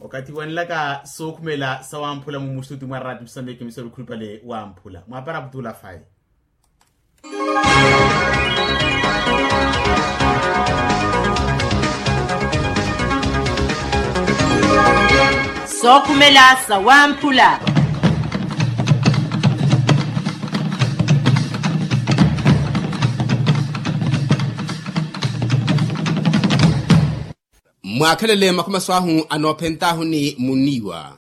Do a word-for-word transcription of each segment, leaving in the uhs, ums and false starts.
Okathi wanlaka sookhumela sawamphula mumustuti mwa rati msameki misori khulupale wamphula mwapara putula fayi. Sookhumela sawamphula. Mwaakhelele makhumaso ahu anoophent'ahu ni muniiwa.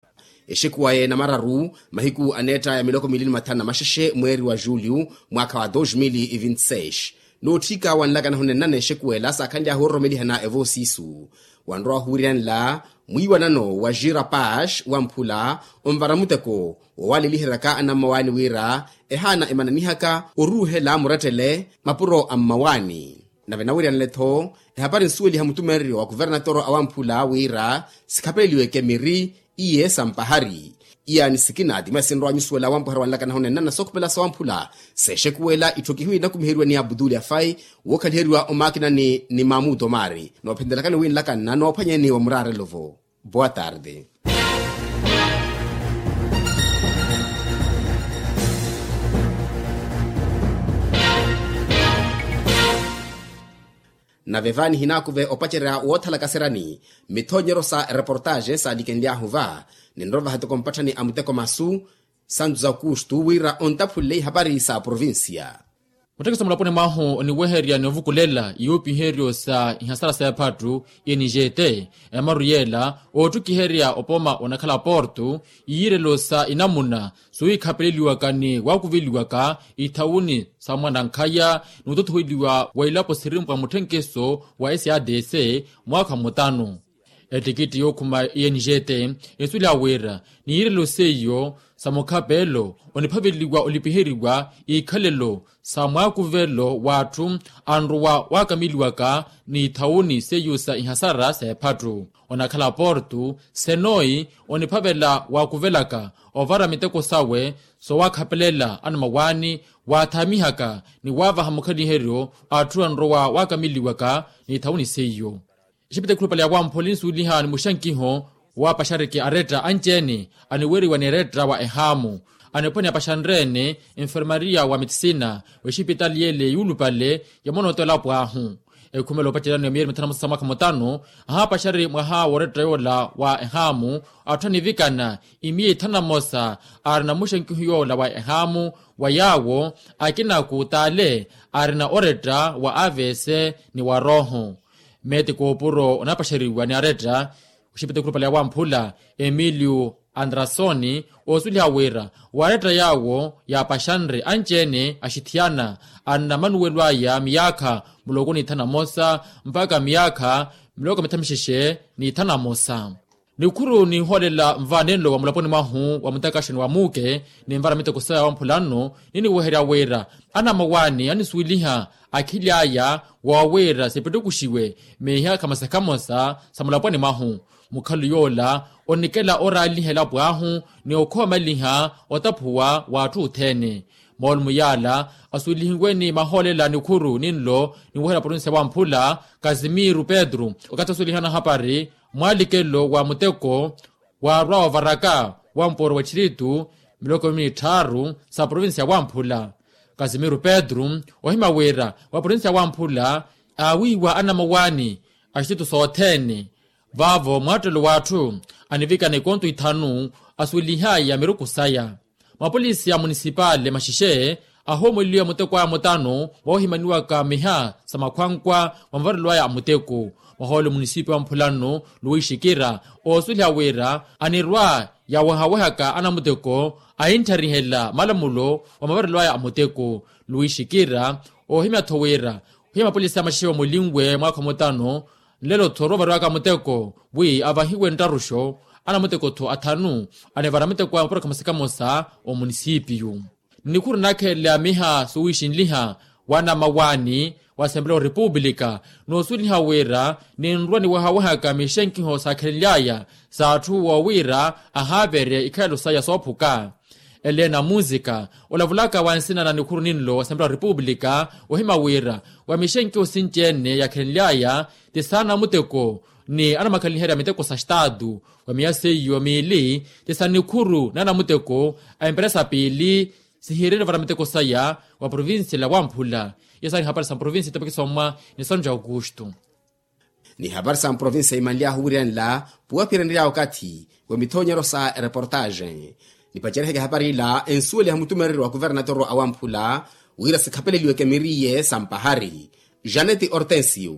Exekuwa yeena mararu mahiku aneetta ya miloko miili ni mathanu na maxexe mweeri wa julio mwaakha wa dos mil e vinte seis. Nootthika wanlakana hunennana exekuwa ela saakhanly'ahu ororomelihana evoosiisu. Wanrowa ohuwiriyanela mwiiwanano wa jira pash wamphula onvara muteko wowaleliheryaka anammawaani wira ehaana emananihaka oruuhela murettele mapuro a mmawaani. Nave nawiryanle-tho ehapari nsuweliha mutumenryo wa kuvernatoro awamphula wira sikhapeleliweke miri iye sampahari. Iyaani sikina ti mweesinrowa nyusuwela wampuhari wanlakana hunennana sookhupela sawamphula. Seexekuwela itthu kihiwi nakumiheriwa ni abuduli afai wookhaliheriwa omakinani ni mamuto mari noophentelakani winlakanna noophwanyeni wa muraarelo-vo. Boa tarde. Nave vaani hinaakuve opacerya woothalakaseryani mithoonyeryo sa ereportaxe saalikenly'ahu va ninrovaha toko mpatthani a muteko masu santu za kustu wira ontaphulele ihapari sa provincia. Muttekesi mulaponi mwahu oniweherya ni ovukulela iyuupiheryo sa ihasara s'ephattu i n g t emaru yeela oottukiherya opoma onakhala porto iyiirelo sa inamuna suwikhapeleliwaka ni waakuveliwaka ithawuni sa mwanankhaya ni wutothoheliwa wa ilapo sirimpwa mutthenkeso wa s a d c mwaakha mutanu. Ettikitti yookhuma i n g t ensuweliha wira ni yiirelo seiyo sa mukhapeelo oniphaveliwa olipiheriwa ikhalelo sa mwaakuvelo w'atthu anrowa waakameliwaka ni ithawuni seiyo sa ihasara s'ephattu onakhala porto senoi oniphavela waakuvelaka ovara miteko sawe soowaakhapelela anamawaani waathaamihaka ni waavaha mukhaliheryo atthu anrowa waakameliwaka ni ithawuni seiyo. Exipita ekhulupale ya wamphula insuweliha ni muxankiho wa paxariki aretta anci-ene aniweeriwa ni eretta wa ehaamu aniphwani apaxanre-ene enfermaria wa metisina w'exipitali yeele yuulupale ya monooto elapo ahu. Ekhumela opacerano ya miyeeri mithanu na mosa sa mwaakha mutanu ahaapaxari mwaha w'oretta yoola wa ehaamu atthu anivikana imiya ithanu na mosa aarina muxankiho yoola wa ehaamu wa yaawo akinaku t'ale aarina oretta wa avc ni wa rooho. Meeti koopuro onapaxeriwa ni aretta oxipita ekhulupale ya wamphula emilio andrasoni oosuweliha wira waaretta yaawo yaapaxanre anci-ene axithiyana anna manuwelo aya miyaakha muloko ni ithanu na mosa mpakha miyaakha miloko mithamixexe ni ithanu na mosa. Nikhuru ninhoolela nva nenlo wa mulaponi mwahu wa mutakaxoni wa muuke ninvara miteko saya wamphula nno niniweherya wira anamawaani anisuweliha akhili aya woowira sipittukuxiwe miiha khamosa khamosa sa mulaponi mwahu. Mukhalu yoola onikela oraaliha elapo ahu ni okhoomaliha otaphuwa w'atthu othene. Moolumo yaala asuwelihiwe ni mahoolela nikhuru ninlo niweherya provincia wamphula kasimiro pedro okathi asuwelihana hapari mwaalikelo wa muteko waarwa ovaraka wa mpooro wa txiritu miloko mimi ni tthaaru sa provincia wamphula. Kasimiro pedro ohima wira wa provincia wamphula aawiiwa anamawaani a txiritu sothene vaavo mwaattelo w'atthu anivikana ikonto ithanu asuwelihaya miruku saya. Mapolisi a munisipale maxixexe ahoomweliwa muteko aya mutano woohimaniwaka miha sa makhwankwa wa mavarelo aya a muteko. Mwahoole munisipi wa mphula nno luwixikira oosuweliha wira anirwa yaawehawehaka anamuteko ahinttharihela malamulo wa mavarelo aya a muteko. Luwixikira oohimya-tho wira ohimya mapolisi a maxixexe omulinwe mwaakha mutano nlelo-tho orovariwaka muteko wi avahiwe nttaruxo anamuteko-tho athanu anivara muteko a mapuro khamosa khamosa omunisipiyu. Nnikhuru naakhelele a miha suwixinliha wa namawaani wa asempeleya orepupulika noosuweliha wira ninrwa niwehawehaka mixenkiho saakhelenly'aya s'atthu woowiira ahaaverye ikhalelo saya soophuka. Elena munzika olavulaka wa nsina na nikhuru ninlo wa asempeleya orepupulika ohima wira wa mixenkiho sinci-ene yaakhelenly'aya ti saana muteko ni anamakhalaniherya miteko sa estatu wa miya seiyo miili ti sa nikhuru na anamuteko a emperesa piili. Sihiirele ovara miteko saya wa provincia la wamphula. Iyo saari hapari sa mprovincia etopekisa omwa ni sanju ya aukustu. Ni hapari sa mprovincia imanly'ahu wiriyanla puwaphiranirya okathi wa mithonyero sa ereportaxe. Nipaceriheke hapari ila ensuweliha mutumereri wa kuvernatoro awamphula wira sikhapeleliweke miriye sa mpahari. Janeti ortensio.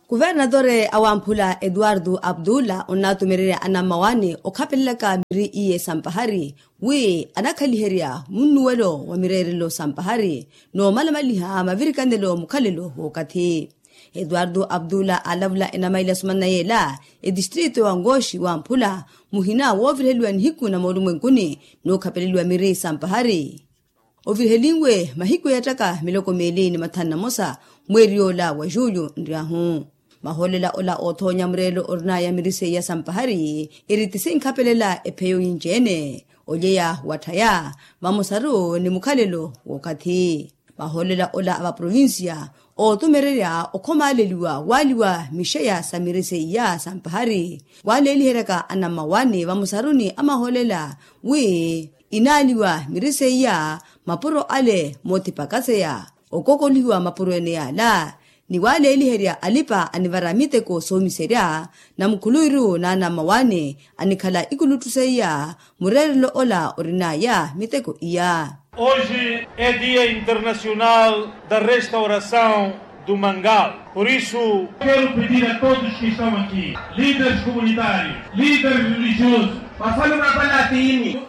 Kuvernatore awamphula etuwartu aptula onnatumererya anammawaani okhapelelaka miri iye sa mpahari wi anakhaliherya munnuwelo wa mireerelo sa mpahari n'omalamaliha mavirikanelo mukhalelo w'okathi. Etuwartu aptula aalavula enamaila sumana yeela etistritu wa nkooxi wamphula muhina wooviriheliwa nihiku na moolumwenkuni n'ukhapeleliwa miri sa mpahari ovirihelinwe mahiku yeettaka miloko miili ni mathanu na mosa mweeri yoola wa juyu nryahu. Mahoolela ola oothoonya mureelo orinaya miri seiya sa mpahari eri ti sinkhapelela epheyo yinci-ene olyeya watthaya vamosaru ni mukhalelo w'okathi. Mahoolela ola a vaprovincia ootumererya okhomaaleliwa waaliwa mixeya sa miri seiya sa mpahari waaleeliheryaka anammawaani vamosaruni amahoolela wi inaaliwa miri seiya mapuro ale moothipakaseya okokolihiwa mapuro ene yaala ni waaleeliherya alipa anivara miteko soomiserya na mukhuluwiru na anammawaani anikhala ikulutthu seiya mureerelo ola orinaya miteko iya. Hoje é dia internacional da restauração do mangal. Por isso, quero pedir a todos que estão aqui, líderes comunitários, líderes religiosos,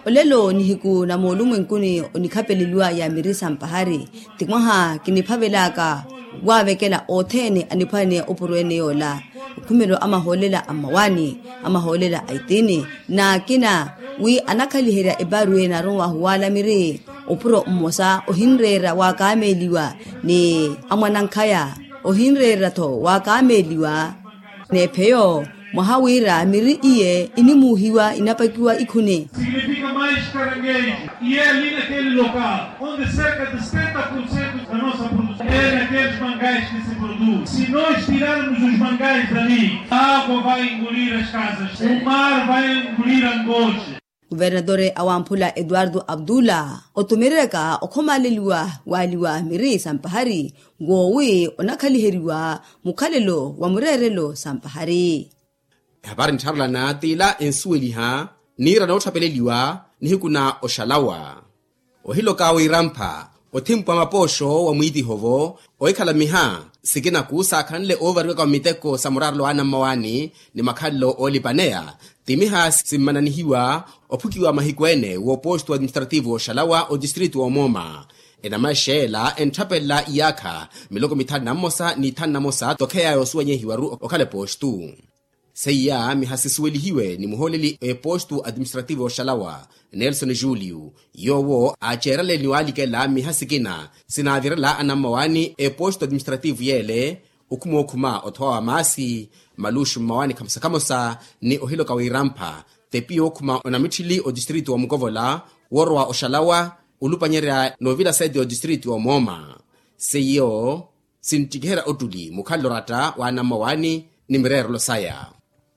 olelo nihiku na moolumwenkuni onikhapeleliwa ya miri sa mpahari ti mwaha kiniphavelaka waavekela othene aniphwaneya opuro ene yoola okhumelo a mahoolela a mmawaani a mahoolela a itiini n'akina wi anakhaliherya eparu ene aronwahu waala miri opuro mmosa ohinreera waakaameeliwa ni amwanankhaya ohinreera-tho waakaameeliwa n'epheyo mwaha wira miri iye inimuuhiwa inapakiwa ikhuni. Significa mais caranguejo e é ali naquele local onde cerca de setenta por cento da nossa produção é naqueles mangais que se produz. Se nós tirarmos os mangais dali, a água vai engolir as casas, o mar vai engolir Angoche. Kuvernatore awamphula etuwartu aptula otumereryaka okhomaaleliwa waaliwa miri sa mpahari nkoowi onakhaliheriwa mukhalelo wa mureerelo sa mpahari. Ehapari nttharelana t'ila ensuweliha niira nootthapeleliwa nihiku na oxalawa ohiloka wirampha othimpu wa mapooxo wa mwiitiho-vo ohikhala miha sikinaku saakhanle oovariwaka wa miteko sa muraarelo wa anammawaani ni makhalelo oolipaneya ti miha simmananihiwa ophukiwa mahiku ene w'oposto administrativo oxalawa otistritu omooma enamaxela entthapelela iyaakha miloko mithanu na mmosa ni ithanu na mosa tokheya yoosuwenyehiwaru okhala epostu. Seiya miha sisuwelihiwe ni muhooleli epostu administrativo oxalawa nelson julio yoowo aaceerale ni waalikela miha sikina sinaavirela anammawaani epostu administrativo yeele okhuma okhuma othowa wa maasi maluxu mmawaani khamosa khamosa ni ohiloka wirampha tepi yookhuma onamitthili otistritu wa mukovola woorowa oxalawa olupanyerya noovila sete otistritu wa mooma seiyo sinttikiherya ottuli mukhalelo oratta wa anammawaani ni mireerelo saya.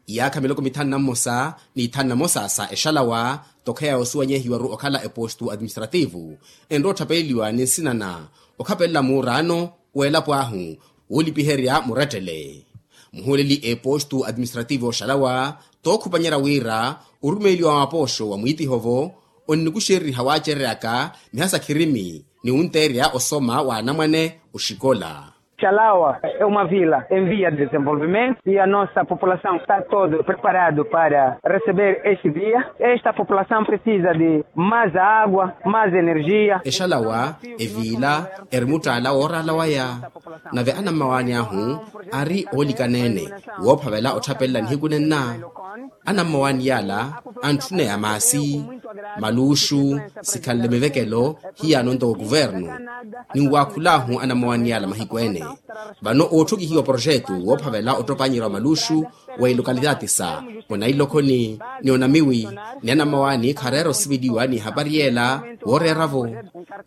Iyaakha miloko mithanu na mmosa ni ithanu na mosa sa exalawa tokheya yoosuwenyehiwaru okhala epostu administrativo enrowa otthapeleliwa ni nsina na okhapelela muuraano w'elapo ahu woolipiherya murettele muhuuleli epostu administrativo oxalawa tookhupanyerya wira orumeeliwa wa mapooxo wa mwiitiho-vo onnikuxereriha waacereryaka miha sa khirimi ni wunteerya osoma wa anamwane oxikola. Xalawa é uma vila em via de desenvolvimento e a nossa população está todo preparado para receber este dia. Esta população precisa de mais água, mais energia. Exalawa eviila eri muttaala wooraala waya nave anammawaani ahu ari oolikaneene woophavela otthapelella nihiku nenna. Anammawaani yaala antthuneya maasi maluuxu sikhanle mivekelo hiyaano ntoko kuvernu ninwaakhulaahu anammawaani yaala mahiku ene. Vano ootthokihiwa poroxetu woophavela ottopanyerya wa maluuxu wa ilokalitati sa onailokhoni ni onamiwi ni anammawaani khareera osiveliwa ni ehapari yeela wooreera-vo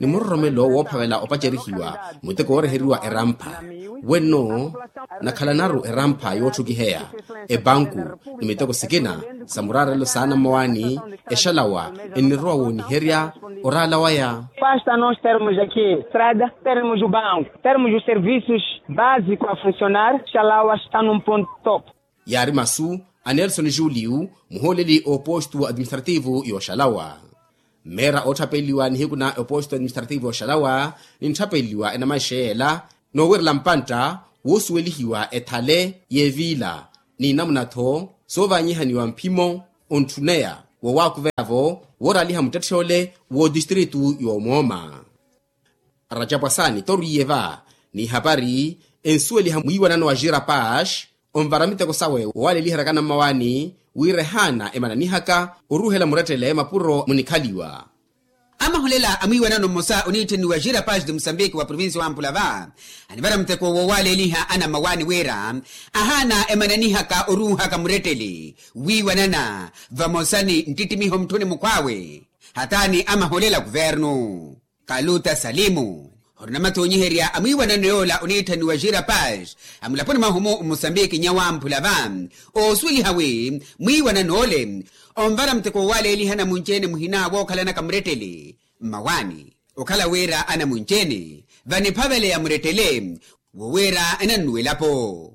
ni muroromelo woophavela opacerihiwa muteko wooreheriwa erampha. Wenno nakhalanaru erampha yootthukiheya epanku ni miteko sikina sa muraarelo saana mmowaani. Exalawa ennirowa wooniherya oraala waya. Pasta nos termos aki estrada termos o banku termos o servisos básico a funcionar. Exalawa está num ponto top. Yaari masu a nelson julio muhooleli oopostu administrativo yooxalawa. Mmeera ootthapeliwa nihiku na eposto administrativo oxalawa nintthapeliwa enamaixeyela noowerela mpantta woosuwelihiwa ethale y'eviila ni namuna-tho soovaanyihaniwa mphimo ontthuneya woowakuveya-vo wooraaliha muttetthe ole wootistritu yoomooma. Rajapwasani torwiye va n'ihapari ensuweliha mwiiwanano wa jira pash onvara miteko sawe wowaleliheryaka nammawaani wira ehaana emananihaka oruhela murettele mapuro munikhaliwa. Amaholela a mwiiwanano mmosa oniittheniwa jira pash de musambiki wa provincia wa mpula va anivara muteko wowaleliha anammawaani wira ahaana emananihaka oruhaka murettele wiiwanana vamosa ni nttittimiho mutthuni mukhw'awe. Hataani amaholela kuvernu kaluta salimu. Orina mathoonyiherya a mwiiwanano yoola oniitthaniwa jira pash a mulaponi mwahu-mu mmusambiki nyawamphula va oosuweliha wi mwiiwanano ole onvara muteko wowaleliha anamunci-ene muhina wookhalanaka murettele mmawaani okhala wira anamunci-ene vaniphaveleya murettele wowira enannuwelapo.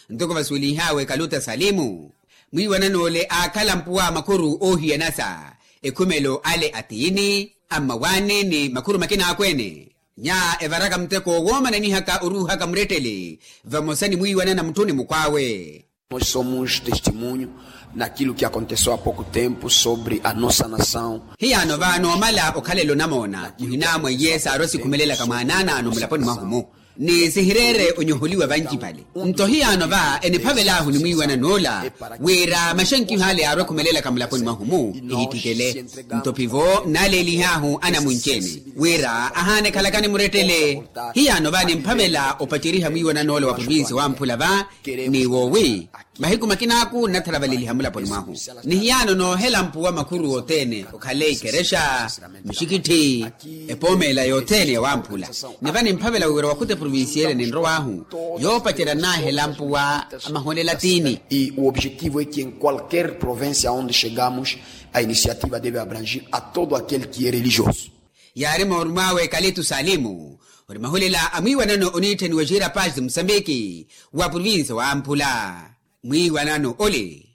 Ntoko vasuwelinhaawe kaluta salimu mwiiwanano ole aakhala mpuwa makhuru oohiyanasa ekhumelo ale atiini ammawaani ni makhuru makina akweene nya evaraka muteko woomananihaka oruuhaka murettele vamosa ni mwiiwanana mutthuni mukhw'awe. Nos somos testimunho naquilo que aconteceu a pouco tempo sobre a nossa nação. Hiyaano va noomala okhalela onamoona muhina mwa iye saarwa sikhumelelaka mwaanaanaano mulaponi mwahu-mu ni sihireere onyoholiwa vancipale. Nto hiyaano va eniphavel'ahu ni mwiiwanan'ola wira maxenkiho ale yaarwa ekhumelelaka mulaponi mwahu-mu ehittikele. Nto phivo naalelih'ahu anamunci-ene wira ahaana ekhalakani murettele. Hiyaano va nimphavela opaceriha mwiiwanan'ola wa provincia wamphula va ni woowi mahiku makin'aku nnatharavaleliha mulaponi mwahu. Ni hiyaano noohela mpuwa makhuru othene okhale ikerexa mixikitthi epoomeela yothene yawamphula. Ni va nimphavela wira wakhuta eprovincia ele ninrow'ahu yoopacerya nnaahela mpuwa amaholela tiini. E o objetivo é que em qualquer província onde chegamos a iniciativa deve abrangir a todo aquele que é religioso. Yaari moorum'awe kalitu salimu ori maholela a mwiiwanano oniitthaniwa jira paz de musambiki wa provincia wamphula. Mwiiwanano ole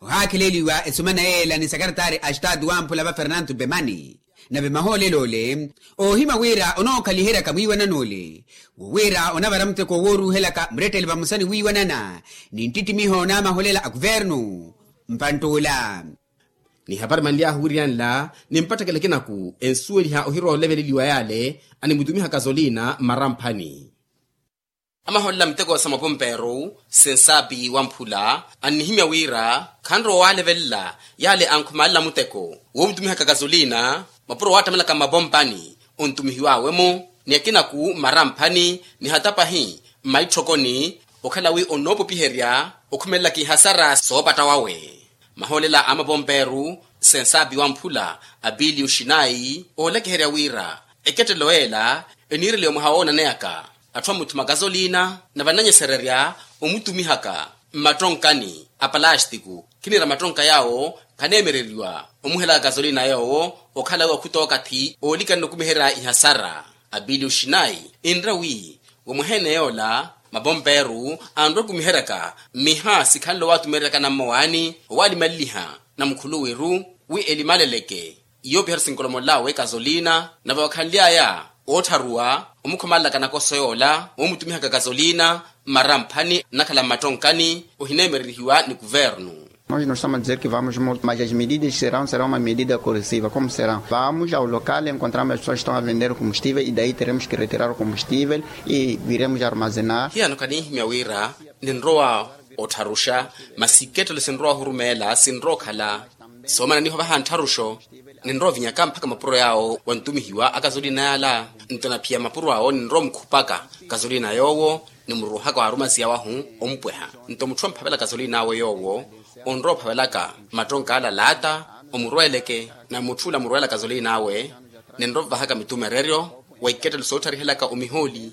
ohaakheleliwa esumana yeela ni sakaratari a estatu wamphula va fernanto bemani. Nave mahoolelo ole oohimya wira onookhaliheryaka mwiiwanano ole wo wira onavara muteko wooruuhelaka murettele vamosa ni wiiwanana ni nttittimiho n'amaholela a kuvernu mpantt'ula. Ni hapari manly'ahu wiriyanla ni mpatthakelo ekinaku ensuweliha ohirowa oleveleliwa yaale animutumiha kazolina mmaramphani. Amaholela muteko sa mapomperu sensaapi wamphula annihimya wira khanrowa owalevelela yaale ankhumalela muteko woomutumihaka kazolina mapuro waattamelaka mmapompani ontumihiw'awe-mo ni akinaku mmaramphani ni hata pahi mmaitthokoni okhala wi onnoopopiherya okhumelelaka ihasara soopatta wawe. Mahoolela a mapomperu sensaapi wamphula apiliyo xinayi oolekeherya wira ekettelo ela eniireliwa mwaha woonaneyaka atthu amuthuma kazolina nave ananyesererya omutumihaka mmattonkani a palastiku khinira mattonka yaawo khaneemereriwa omuhelaka kazolina yoowo okhala wi wakhuta okathi oolikanela okumiherya ihasara. Apiliyo xinayi enre wi wamwaha ene yoola mapomperu anrwa okumiheryaka mmiha sikhanle owaatumereryaka nammowaani owaalimaleliha na mukhuluwiru wi elimaleleke. Iyo opiherya sinkolomol'awe kazolina nave wakhanly'aya oottharuwa omukhomalelaka nakoso yoola woomutumihaka kazolina mmaramphani nnakhala mmattonkani ohineemererihiwa ni kuvernu. Nós não estamos a dizer que vamos multa mas as medidas serão serão uma medida corrosiva como serão vamos ao local encontramos as pessoas estão a vender o combustível e daí teremos que retirar o combustível e viremos armazenar. Hiyaano khanihimya wira ninrowa ottharuxa masi ikettelo sinrowa ohurumeela sinrowa okhala soomananiho vaha nttharuxo ninrowa ovinyaka mpakha mapuro yaawo wantumihiwa akazolina yaala. Nto naphiya mapuro awo ninrowa omukhupaka kazolina yoowo nimuruuhaka waarumaziya wahu ompweha. Nto mutthu amphavela kazolina awe yoowo onrowa ophavelaka mmattonka ala laata omurweeleke na mutth'ula amurweela kazolina awe ninrowa ovahaka mitumereryo wa ikettelo soottarihelaka omihooli.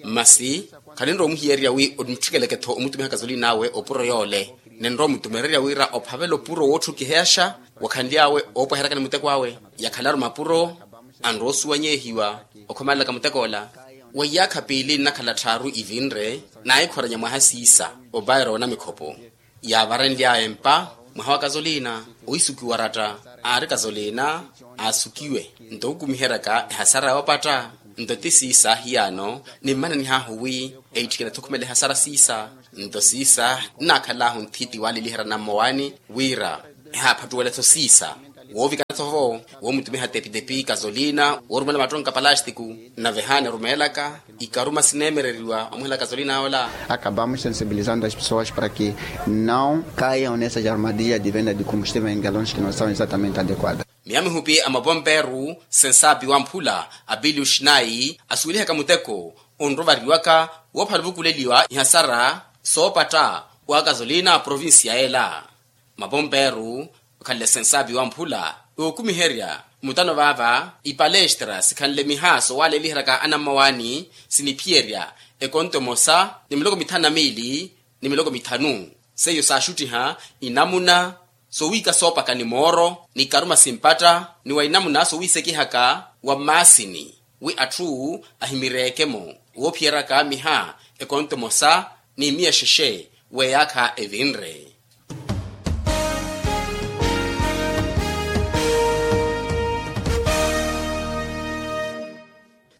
Masi Khaninrowa omuhiyererya wi onitthikelekettho omutumiha kasolina awe opuro yoole. Ninrowa omutumererya wira ophavela opuro wootthukiheyaxa wakhanly'awe oopweheryaka ni muteko awe. Yakhalaru mapuro anrowa osuwanyehiwa okhomalelaka muteko ola. Wa iyaakha piili nnakhala tthaaru ivinre naahikhoranya mwaha siisa opairo onamikhopo. Yaavarenly'aya empa mwaha wa kasolina owiisukiwa oratta. Aari kasolina aasukiwe nto wukumiheryaka ehasara yoopatta. Nto ti siisa ahiyaano nimmananih'ahu wi eitthikela-tho okhumela ehasara siisa. Nto siisa nnaakhal'ahu nthiti waaleliherya nammowani wira ehaaphattuwela-tho siisa woovikana-tho vo woomutumiha tepitepi kasolina woorumela mattonka palastiku. Nave ehaana erumeelaka ikaruma sineemereriwa omuhela kasolina ola. Acabamos sensibilizando as pessoas para que não caiam nessas armadilhas de venda de combustível em galões que não são exatamente adequadas. Miya mihupi a mapomperu sensaapi wamphula a pilius nayi asuwelihaka muteko onrovariwaka woophala ovukuleliwa ihasara soopatta wa kasolina a provincia ela. Mapomperu okhanle sensaapi wamphula ookumiherya mutano vaava ipalestra sikhanle miha soowaleliheryaka anammawaani siniphiyerya ekonto emosa ni miloko mithanu na miili ni miloko mithanu. Seiyo saaxuttiha inamuna sowiika soopaka ni mooro ni karuma simpatta ni wa inamuna sowiisekihaka wa mmaasini wi atthu ahimireeke-mo woophiyeryaka miha ekonto emosa ni miya exexe w'eyaakha evinre.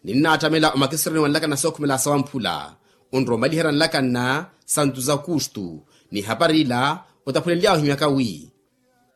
Ninnaattamela omakisirani wa nlakanna sookhumela sawamphula onrowa omaliherya nlakanna santu za kustu. Ni ehapari ila otaphulenly'awe ohimyaka wi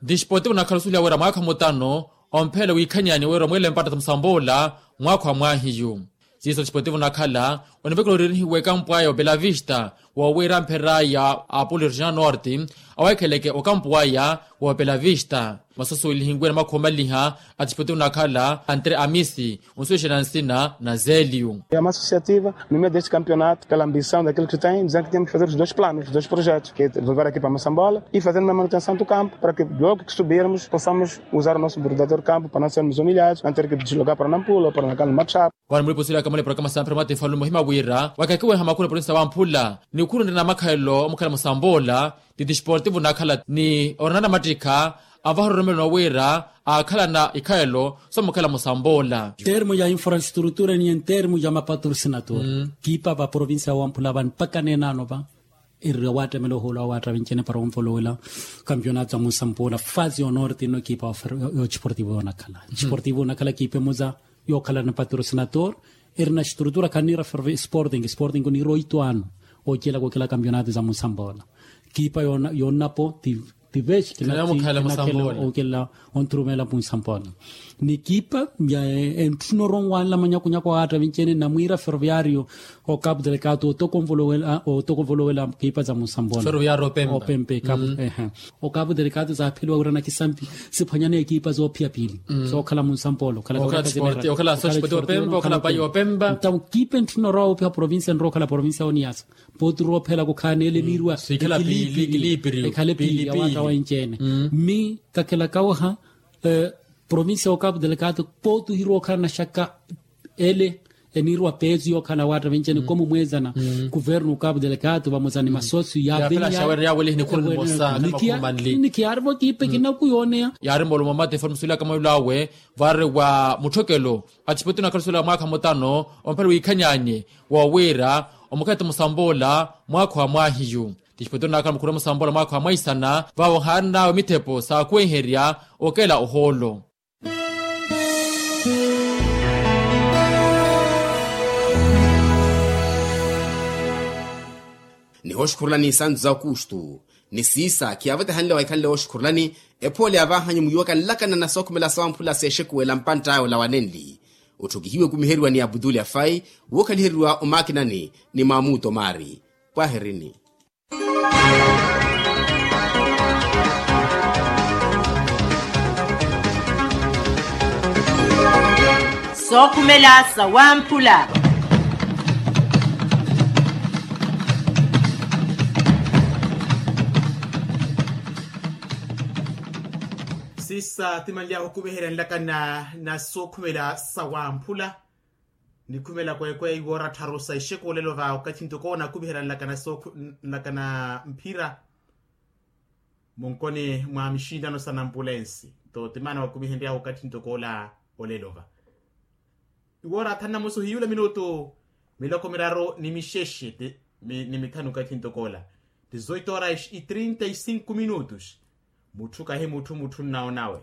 disportivo nakhala osuweliha wira mwaakha mutano omphela wiikhanyaani wira omweele mpatta sa musamboola mwaakha wa mwaahiyu. Siiso disportivo nakhala onivekela oriirihiwa ekampu aya wa belavista woowira ampherer'aya a apolo regional norte aweekheleke okampu aya wa belavista. Masoso welihiwe na makhuwa omaliha a disportivo nakhala antre amisi onsuwexela nsina na zelio. É uma associativa no meio deste campeonato pela ambição daquilo que tem dizendo que temos que fazer os dois planos os dois projetos que é devolver aqui para a moçambola e fazer uma manutenção do campo para que logo que subirmos possamos usar o nosso verdadeiro campo para não sermos humilhados não ter que deslogar para nampula ou para nacal matchap. Vano mulipa osuwelaka muli programa sampira mwatefalume ohima wira wakakiweha makhuwa na provinsi ya wamphula ni khurunre na makhalelo omukhala musamboola. Ti disportivo nakhala ni oranana mattikha avaha ororomelo wira aakhalana ikhalelo somukhala musamboola. Termo ya infrastrutura ni en termo ya mapatrosinator kipa va provinsi ya wamphula vano mpaka nenaano va erira waattamela ohoolo awo aattavinci-ene para onvolowela kampionato ya musampola fasi yonorte ino ekipa yo disportivo yonakhala disportivo yonakhala ekipa emuza yookhala na patrosinator. Erina estrutura khaniira ferve sporting sporting oniira oito ano ookilaka okila kampionato za musampola. Ekipa yonnapo ti tivexi kinakela ookela onthurumela muisampola. Ni ekipa ya entthuna oronwanla manyakunyaku awo aattavinci-ene namwiira ferroviario okapu delekato otokonvolowela otokonvolowela ekipa za musambola. Opempa ekapu ehe. Okapu delekato zaapheliwa wira nakisampi siphwanyana ekipa zoophiya piili sookhala musambola okhala okapu delekato okhala pai opempa. Ntawo ekipa entthuna orowa woopiha provincia nrowa okhala provincia oniyasa pooti roophela kukhaana ele eniirwa ekhala piili awaaka wenci-ene. Mmi kakhelaka waha provincia okapu delekato pooti ohirowa okhala naxaka ele eniirwa peesu yookhala waatta venci-ene komu mweezana kuvernu okapu delekato vamosa ni masosio yaavenya. Nikiyaari vokiipe kinaku yooneya yaari moolumo mate foni musuwelaka mwelo awe vaari wa mutthokelo. Atisipotu nakhala osuwela mwaakha mutano omphela wiikhanyaanye woowiira omukhathi musamboola mwaakha wa mwaahiyu. Tisipotero naakhala mukhura musamboola mwaakha wa mwaisana vaavo nhaari nawe mithepo saakuwenherya okela ohoolo. Nihooxukhurulani isantu za okustu ni siisa khiyavetehanle waikhanle wooxukhurulani. Ephoole yavahanyu muiwaka nlakana na sookhumela sawamphula seexekuwela mpantt'aya olawanenli otthokihiwe okumiheriwa ni aputuli afai wookhaliheriwa omaakinani ni maamuuto maari. Pwahirini. Sookhumela sawamphula. Sisa timanly'ahu okuveherya nlakana na sookhumela sawamphula. Nikhumela kweekweya iwoora tharu sa ixeku olelo va okathi ntoko onakuviherya nlakana sookhu nlakana mphira munkoni mwa mixinttano sa nampulensi. Nto timana wakuvihenryahu okathi ntoko ola olelo va iwoora thanu na mosa ohiyula minutu miloko miraru ni mixexe ni mithanu okathi ntoko ola. Tizoito oraes i trinta i sinku minutus. Mutthu kahi mutthu mutthu nnawo nawe.